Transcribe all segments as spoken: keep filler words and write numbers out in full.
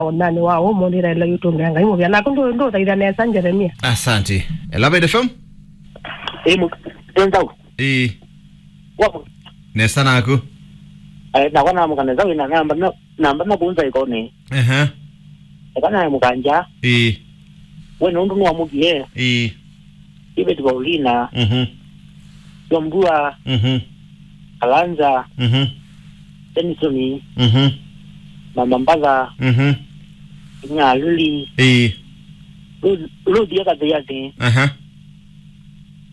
Onani wa ũmũnthĩ ĩla yũtũngĩa Ngai mũvea. Naku ndũ-, ndũthaitha nesa Jeremia. Asante. Ela Mbaitu F M? Ĩĩ, mũ-, ĩ nzaũ. Ĩĩ. Wa mũ- Nesa naku. Eh, nakwa namũka nesa wĩna namba na, namba na kũnza ĩkoni. Ehe. Eka naye mũkanja. Ĩĩ. We nũndũ nĩwamũkie. Ĩĩ. David Paulina. Mhm. Yombua. Mhm. Kalanza. Mhm. Benson. Mhm. Mama Mbatha. Mhm. Inya Lili. Ĩĩ. Ruth, Ruth ya Kathiathi. Aha.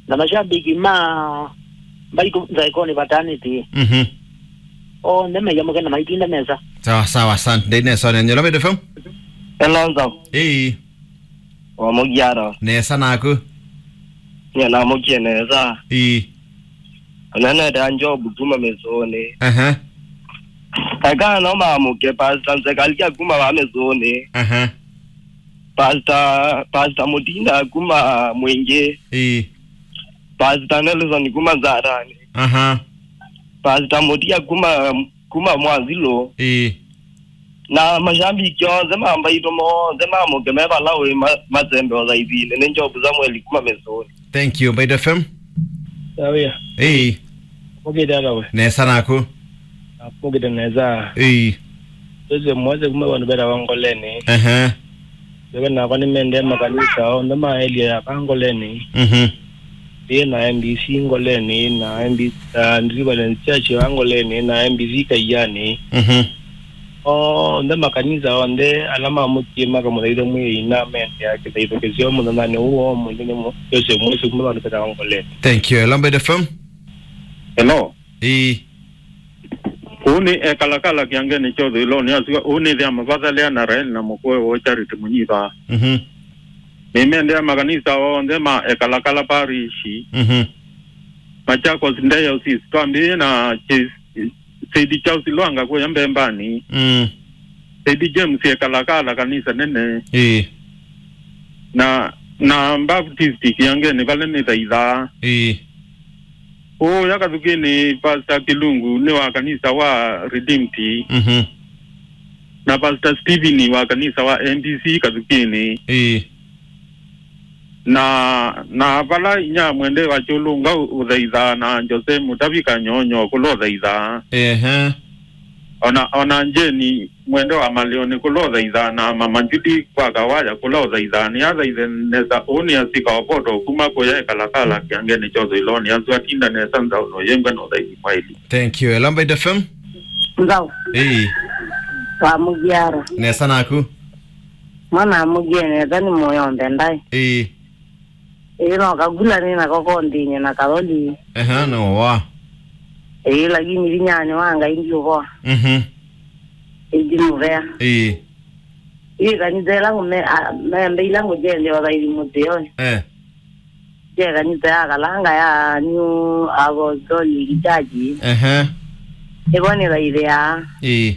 Na mashabiki ma Mbaitu nza ĩkoni vatanĩte. Mhm. Onthe meyamũke na maitinda nesa. Sawa, sawa, asante. Ndĩ nesa, nĩ Nyolo Mbaitu F M? Hello, nza. Ĩĩ. Wa mũgiaro. Nesa naku. Nye namũkie nesa. Ĩĩ. Onanete a Job kuma Mĩsũnĩ. Aha. Eka no mamũke Pastor Nzekalia kuma wa Mĩsũnĩ. Aha. Pastor, Pastor Mutinda kuma Mwingi. Ĩĩ. Pastor Nelson kuma Nzarani. Aha. Pastor Mutia kuma, kuma Mwazilo. Ĩĩ. Na mashabiki onthe ma Mbaitu monthe mamũke me vala ũĩ ma-, matembe ũthaithinĩ. Nĩ Job Samuel kuma Mĩsũnĩ. Thank you, Mbaitu F M. Sawia. Ĩĩ. Mũkĩte ata we? Nesa naku. Mũkĩte nesa. Ĩĩ. Joseph Mwese kuma vandũ vetawa Ngoleni. Ehe. Yoke nakwa nĩmendee makanisa onthe ma area ya va Ngoleni. Mhm. Ĩĩ, na M B C Ngoleni, na M B C, uh, Deliverance Church ya Ngoleni, na M B C Kaiani. Mhm. Onthe makanisa onthe ala mamũkie makamũthaitha Mwĩai na mendea kĩthaitho kĩseo mũthenyanĩ ũũ wa ũmũnthĩ nĩ mũ-, Joseph Mwese kuma vandũ vetawa Ngoleni. Thank you. Hello, Mbaitu F M. Hello. Ĩĩ. Ũũ nĩ ekalakala kĩangenĩ kya ũthũĩlonĩ asu, ũũ nĩ thĩa mavathalea na Rael na mũkũe woo Charity Mũnyiva. Mhm. Nĩmendea makanisa onthe ma ekalakala parish. Mhm. Machakos Diocese, twambĩĩe na Ch-, Said Charles Lwanga kũya Mbembani. Mm. Said James ekalakala kanisa nene. Ĩĩ. Na, na Baptist kĩangenĩ vala nĩthaithaa. Ĩĩ. Ũya Kathukĩnĩ, Pastor Kilungu nĩ wa kanisa wa Redeemed. Mhm. Na Pastor Stephen wa kanisa wa M B C Kathukĩnĩ. Ĩĩ. Na, na vala inya mwende wa Kyũlũnga ũ-, ũthaithaa na Jose Mutavi Kanyonyo kũla ũthaithaa. Ehe. Ona, ona Jeni mwende wa Malioni kũla ũthaithaa na Mama Judy kwa Kawaya kũla ũthaithaa. Nĩ athaithe nesa ũũ nĩ asika Opoto kuma kũya ekalakala kĩangenĩ kya ũthũĩlonĩ asu atinda nesa nzaũ no yengwe na ũthaithi mwaili. Thank you. Hello, Mbaitu F M. Nzaũ. Ĩĩ. Wa mũgiaro. Nesa naku. Mwana mũgie nesa nĩ mũyo mbendai. Ĩĩ. Ĩĩ, no kagula nĩ nako kondinye na kaloli. Ehe, no wa. Ĩĩ, lakini vinyani wa Ngai ndiũvoa. Mhm. Ĩĩ, ndimũvea. Ĩĩ. Ĩĩ, kanitha ĩla ngũme-, a-, membe ila ngũjende o thaithi mũthĩonĩ. Eh. Je kanitha ya Kalanga ya New Apostolic Church. Ehe. Ĩvo nĩ thaithĩa. Ĩĩ.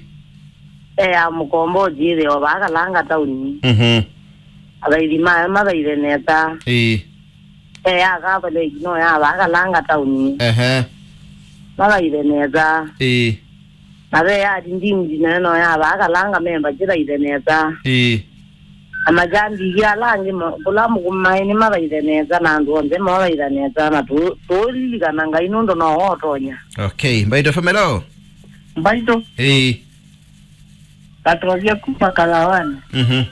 E ya mũkombo ũjĩthĩwa vaa Kalanga tauni. Mhm. Athaithi mayo mathaithe nesa. Ĩĩ. E ya Catholic no ya vaa Kalanga tauni. Ehe. Mathaithe nesa. Ĩĩ. Na ve ya Redeemed nayo no ya vaa Kalanga memba kĩthaithe nesa. Ĩĩ. Na majambithia ala angĩ ma-, kũla mũkũmaĩ nĩmathaithe nesa na andũ onthe mathaitha nesa na tũ-, tũũlilikana Ngai nũndũ no ũtonya. Okay, Mbaitu F M, hello. Mbaitu. Ĩĩ. Katovya kuma Kalawanĩ. Mhm.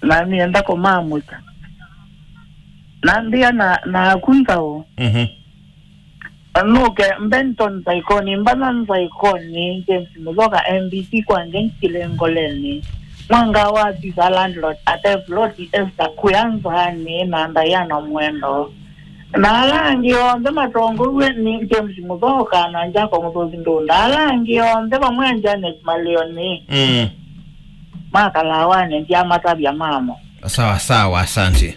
Na nĩenda kũmamũkya. Nambĩa na, na aku nzaũ. Mhm. Nũke Benton Nzaikoni, Mbana Nzaikoni, James Mũthoka, M B C kwa Ngenchile Ngoleni. Mwanga wa Tisa landlord, Ate Floti, Esther Kuya Nzaani, na Diana Mwendo. Na ala angĩ onthe matongoew'e nĩ James Mũthoka na Jacob Mũthũthi Ndunda. Ala angĩ onthe vamwe na Janet Malioni. Mm. Makalawanĩ, ndyamatavya mamo. Sawa sawa, asante.